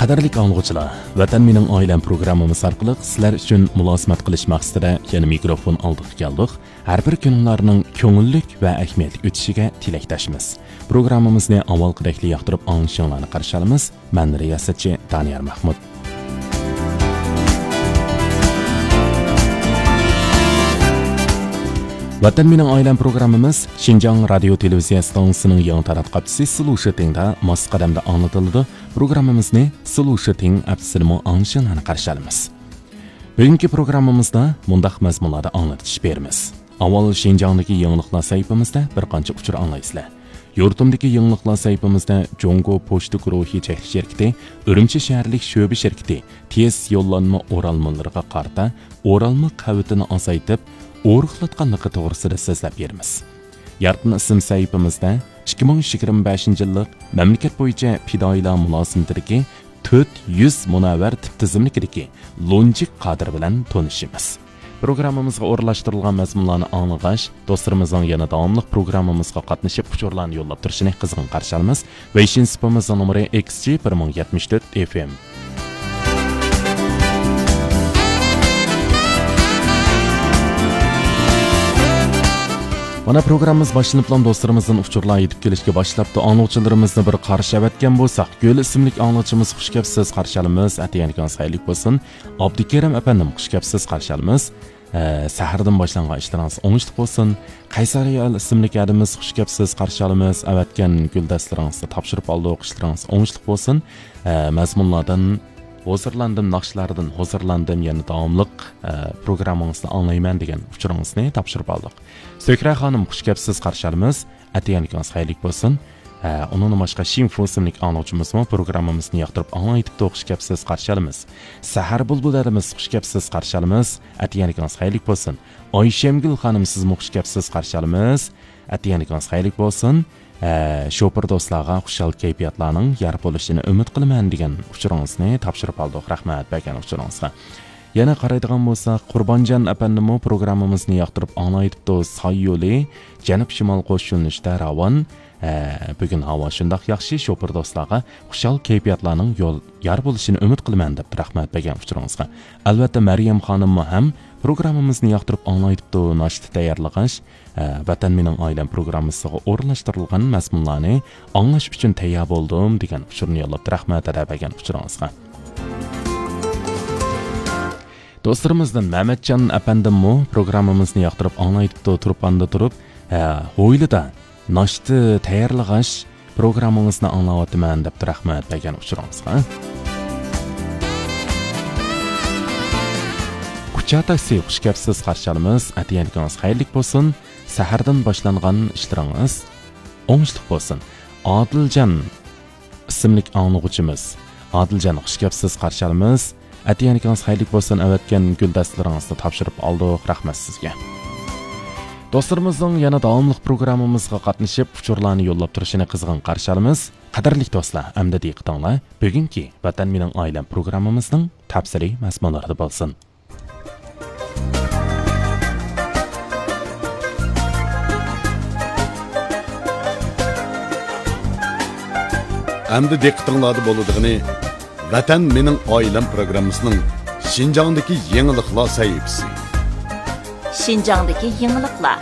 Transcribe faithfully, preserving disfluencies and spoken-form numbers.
قەدىرلىك ئاڭلىغۇچىلار، ۋەتەن مېنىڭ ئائىلەم پروگراممىمىز ئارقىلىق سىلەر ئۈچۈن مۇلازىمەت قىلىش مەقسىتىدە يەنە مىكروفون ئالدىغا كەلدۇق. ھەر بىر كۈنۈڭلارنىڭ كۆڭۈللۈك ۋە ئەھمىيەتلىك ئۆتۈشىگە تىلەكداشمىز. پروگراممىمىزنى ئاۋۋالقىدەكلا ياقتۇرۇپ ئاڭلىشىڭلارنى قارشى ئالىمىز. مەن رىياسەتچى دانىيار مەھمۇت. ۋەتەن مېنىڭ ئائىلەم پروگراممىمىز شىنجاڭ رادىيو تېلېۋىزىيە ئىستانسىسىنىڭ يېڭى تاراتقۇ ئاپچىسى سلۇشىتىڭدا ماس قەدەمدە ئاڭلىتىلىدۇ. پروگراممىمىزنى سلۇشىتىڭ ئاپچىسىدىمۇ ئاڭلىشىڭلارنى قارشى ئالىمىز. بۈگۈنكى پروگراممىمىزدا مۇنداق مەزمۇنلاردا ئاڭلىتىش بېرىمىز. ئاۋۋال شىنجاڭدىكى يېڭىلىقلار سەھىپىمىزدە بىر قانچە ئۇچۇر ئاڭلايسىلەر. يۇرتۇمدىكى يېڭىلىقلار سەھىپىمىزدە جۇڭگو پوچتا گۇرۇھى چەكلىك شىركىتى ئۈرۈمچى شەھەرلىك شۆبە شىركىتى تېز يوللانما ئورالمىلىرىغا قارىتا ئورالما قەۋىتىنى ئازايتىپ، ئورۇقلاتقانلىقى توغرىسىدا سۆزلەپ بېرىمىز. يارىتما ئىسىم سەھىپىمىزدە ئىككى مىڭ يىگىرمە بەشىنچى يىللىق مەملىكەت بويىچە پىدائىيلار مۇلازىمىتىدىكى تۆت يۈز مۇنەۋۋەر تىپ تىزىملىكىدىكى لونجىك قادىر بىلەن تونۇشىمىز. پروگراممىمىزغا ئورۇنلاشتۇرۇلغان مەزمۇنلارنى ئاڭلىغاچ، دوستلىرىمىزنىڭ يەنە داۋاملىق پروگراممىمىزغا قاتنىشىپ ئۇچۇرلارنى يوللاپ تۇرۇشىنى قىزغىن قارشى ئالىمىز. ۋېيشىن سېپىمىزنىڭ نومۇرى ئېكس جى بىر مىڭ يەتمىش تۆت ئېف ئېم. مانا، پروگراممىمىز باشلىنىپلا دوستلىرىمىزدىن ئۇچۇرلار يېتىپ كېلىشكە باشلاپتۇ. ئاڭلىغۇچىلىرىمىزنى بىر قارشى ئەۋەتكەن بولساق، گۈل ئىسىملىك ئاڭلىغۇچىمىز خۇش كەپسىز قارشى ئالىمىز. ئەتىگەن كۈنىڭىز خەيرلىك بولسۇن. ئابدۇكېرىم ئەپەندىم خۇش كەپسىز قارشى ئالىمىز. ئە، سەھەردىن باشلانغان ئىشلىرىڭىز ئوڭۇشلۇق بولسۇن. قەيسەر ھايال ئىسىملىك ئادىمىمىز خۇش كەپسىز قارشى ئالىمىز. ئەۋەتكەن گۈلدەستىلىرىڭىزنى تاپشۇرۇپ ئالدۇق. ئىشلىرىڭىز ئوڭۇشلۇق بولسۇن. ئە، مەزمۇنلاردىن ھۇزۇرلاندىم، ناخشىلاردىن ھۇزۇرلاندىم. يەنە داۋاملىق، ئە، پروگراممىڭىزنى ئاڭلايمەن دېگەن ئۇچۇرىڭىزنى تاپشۇرۇپ ئالدۇق. سۆھرە خانىم خۇش كەپسىز قارشى ئالىمىز. ئەتىگەن كۈنىڭىز خەيرلىك بولسۇن. ھە، ئۇنىڭدىن باشقا شىنفۇ ئىسىملىك ئاڭلىغۇچىمىزمۇ پروگراممىمىزنى ياقتۇرۇپ ئاڭلايتىپتۇ، خۇش كەپسىز قارشى ئالىمىز. سەھەر بۇلبۇل ھەدىمىز خۇش كەپسىز قارشى ئالىمىز. ئەتىگەن كۈنىڭىز خەيرلىك بولسۇن. ئايشەمگۈل خانىم سىزمۇ خۇش كەپسىز قارشى ئالىمىز. ئەتىگەن كۈنىڭىز خەيرلىك بولسۇن. ھە، شوپۇر دوستلارغا خۇشال كەيپىياتلارنىڭ يار بولۇشىنى ئۈمىد قىلىمەن دېگەن ئۇچۇرىڭىزنى تاپشۇرۇپ ئالدۇق. رەھمەت بەرگەن ئۇچۇرىڭىزغا. يەنە قارايدىغان بولساق، قۇربانجان ئەپەندىمۇ پروگراممىمىزنى ياقتۇرۇپ ئاڭلايتىپتۇ. ساي يولى، جەنۇب شىمال قوش يۆنىلىشتە راۋان. ھە، بۈگۈن ھاۋا شۇنداق ياخشى، شوپۇر دوستلارغا خۇشال كەيپىياتلارنىڭ يول يار بولۇشىنى ئۈمىد قىلىمەن، دەپتۇ رەھمەت بەرگەن ئۇچۇرىڭىزغا. ئەلۋەتتە، مەريەم خانىممۇ ھەم پروگراممىمىزنى ياقتۇرۇپ ئاڭلايتىپتۇ. ناشتا تەييارلىغاچ، ھە، ۋەتەن مېنىڭ ئائىلەم پروگراممىسىغا ئورۇنلاشتۇرۇلغان مەزمۇنلارنى ئاڭلاش ئۈچۈن تەييار بولدۇم، دېگەن ئۇچۇرنى يوللاپتۇ. رەھمەت ئەدا بەرگەن ئۇچۇرىڭىزغا. دوستلىرىمىزدىن مەمەتجان ئەپەندىممۇ پروگراممىمىزنى ياقتۇرۇپ ئاڭلايتىپتۇ، تۇرپاندا تۇرۇپ، ھە، ھويلىدا ناشتا تەييارلىغاچ پروگراممىڭىزنى ئاڭلاۋاتىمەن، دەپتۇ رەھمەت بەرگەن ئۇچۇرىڭىزغا. كۇچا تاكسى خۇش كەپسىز قارشى ئالىمىز. ئەتىگەن كۈنىڭىز خەيرلىك بولسۇن. سەھەردىن باشلانغان ئىشلىرىڭىز ئوڭۇشلۇق بولسۇن. ئادىلجان ئىسىملىك ئاڭلىغۇچىمىز. ئادىلجان، خۇش كەپسىز، قارشى ئالىمىز. ئەتىگەنلىكىڭىز خەيرلىك بولسۇن، ئەۋەتكەن گۈلدەستىلىرىڭىزنى تاپشۇرۇپ ئالدۇق، رەھمەت سىزگە. دوستلىرىمىزنىڭ يەنە داۋاملىق پروگراممىمىزغا قاتنىشىپ، ئۇچۇرلارنى يوللاپ تۇرۇشىنى قىزغىن قارشى ئالىمىز. قەدىرلىك دوستلار، ئەمدى دىققىتىڭلار بۈگۈنكى ۋەتەن مېنىڭ ئائىلەم پروگراممىمىزنىڭ تەپسىلىي مەزمۇنلىرىدا بولسۇن. ئەمدى دىققىتىڭلاردا بولىدىغىنى ۋەتەن مېنىڭ ئائىلەم پروگراممىسىنىڭ شىنجاڭدىكى يېڭىلىقلار سەھىپىسى. شىنجاڭدىكى يېڭىلىقلار.